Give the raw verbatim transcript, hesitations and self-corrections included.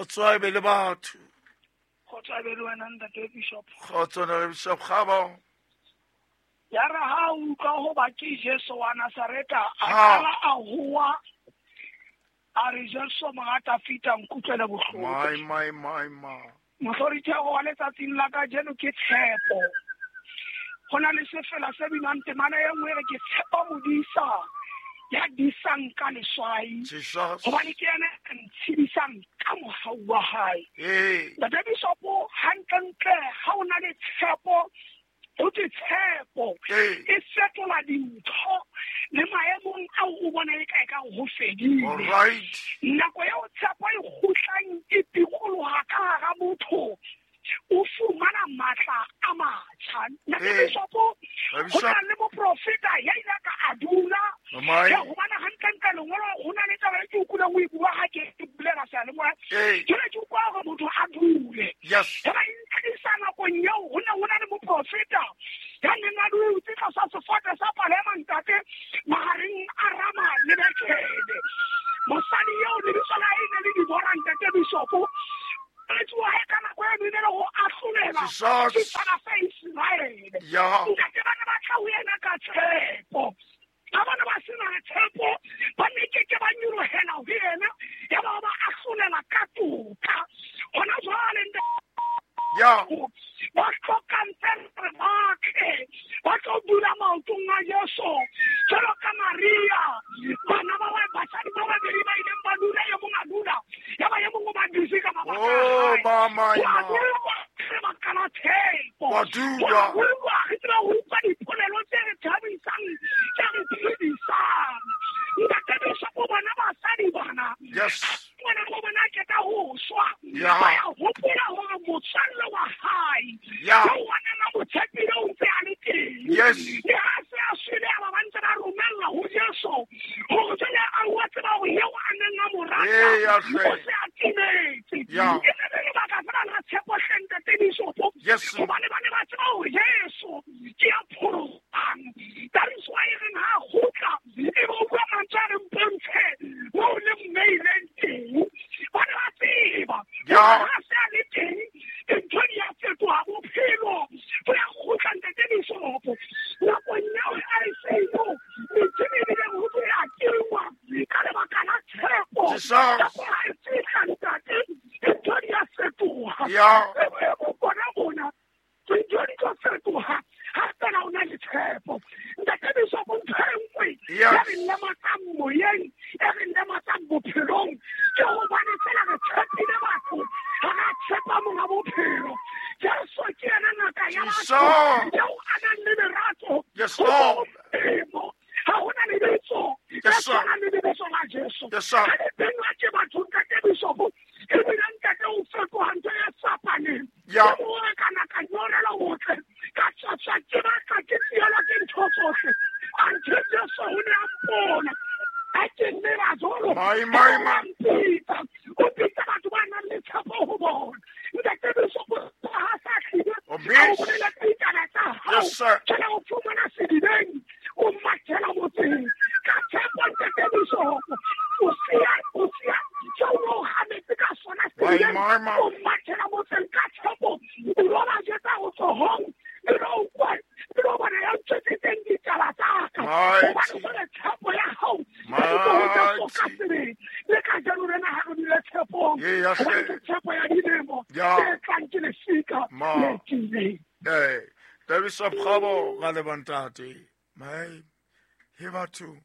Kgotso a be le batho. Kgotso a be le wena ntate Bishop. Kgotso na Bishop Kgabo. Ya re ha utlwa hoba ke Jesu wa Nazareta a qala a hoa a re Jesu monga Dafita nkutlwele bohloko. My my my my. Mohlorithego wa letsatsing la kajeno ke tshepo. Ho na le sefela se binang temana e nngwe re ke tshepa modisa ya disang ka leswai. Hobane ke yena a ntshedisang ka mohau wa hae. Ntate Bishopo hantlentle ha o na le tshepo ho ke tshepo e fetola dintho le maemong ao o bona e ka e ka ho fedile. Nako eo tshepo e kgutlang e pikoloha ka hara motho o fumana matla a matjha. Ntate Bishopo ho na le moprofeta ya ile ka a dula ya hobane hantlentle lengolo ho na le taba e ke utlwileng o e bua ha ke bulela seyalemoya. Jwale ke utlwa hore motho a dule. Ya ba intlisa nakong eo ho ne ho na le moprofeta ya neng a dutse tlasa sefate sa palema ntate mahareng a Rama le Bethele. Mosadi eo lebitso la hae ne le Dibora ntate Bishopo. Etsoa ka nako eno e ne le ho ahlolela setjhaba sa Iseraele. Ntate ba ne ba tla ho yena ka tshepo. Ha ba ne ba sena tshepo ba ne ke ke ba nyolohela ho yena ya ba ba ahlolela ka toka. Hona jwale ya ba hlokang fela ba tle ba tlo dula maotong a Jesu jwalo ka Maria. Bana ba ba basadi ba babedi ba ileng ba dula e mong a dula ya ba e mong o ba dutse ka mabaka a hae. Re baka la tshepo. Wa dula. Re tseba ho utlwa dipolelo tse re thabisang tse re phedisang. Ntate Bishopo bona basadi bana. Yes. Ngwana wa bona a qeta ho shwa. Ba ya hopola hore motswalle wa hae Ya. eo a neng a mo tshepile o ntse a le teng. Yes. Le ha se a shwele a ba ba ntse ba romella ho Jesu hore jwale a wa tseba hore eo a neng a mo rata Ee, ya hle. o se a timetse. Ya. E ne le lebaka fela la tshepo hle ntate Bishopo. Yes. Hobane ba ne ba tseba hore Jesu ke ya pholosang. That is why e reng ha a kgutla e be o bua mantswe a reng mpontshe moo le mmeileng teng. Ba ne ba tseba Ya. hore ha se a le teng dintho di a fetoha bophelo bo ya kgutla ntate Bishopo. Nakong eo I C U metjhini e bileng ho thwe ya tingwa ka lebaka la tshepo. Jesus. Nako ha e fihla ntate dintho di a fetoha. Ya. E boemo bona bona dintho di tlo fetoha ha fela o na le tshepo. Ntate Bishopo ntho e nngwe Yes. e re lematsang moyeng e re lematsang bophelong ke hobane fela re tshepile batho ha re tshepa monga bophelo. Jesu ke yena ngaka ya batho Jesus. eo a nang le lerato Yes, ho Lord. Modimo. Ha hona lebitso le Yes, sir. tshwanang le lebitso la Jesu. Yes, sir. Ha le benwa ke batho ntate Bishopo ebile ntate o fetoha ntho e fapaneng. Ya. Ke moo re kana ka nyorelwa botle ka tswatswa ke batla ke tsielwa ke ntho tsohle. Anthe Jesu o ne a mpona ha ke nnela jwalo. My, my, my. O mpitsa. O bitsa batho ba nang le tshepo ho bona. Ntate Bishopo ha sa hlile O a o miss. boleletse ditaba tsa hao. Yes, sir. Jwale o fumana sedibeng o mathela motseng ka tshepo ntate Bishopo. O siya o siya seo o hametse ka sona My, sedibeng. my, my. O mathela motseng ka tshepo. O lo ba jwetsa ho tsohong. E lo utlwa e lo bona ya ntshetseng ditaba tsa ka. Mighty. Hobane jwale tshepo ya hao e ntse ho Jesu ka Mighty. sebele. Le kajeno lena ha re dule tshepong. Ee, ya Hobane hle. ke tshepo ya dilemo Ya. tse tlang ke lesika Ma. le tiileng. Ee, Ntate Bishop Kgabo ga le bantate. Mai, he batho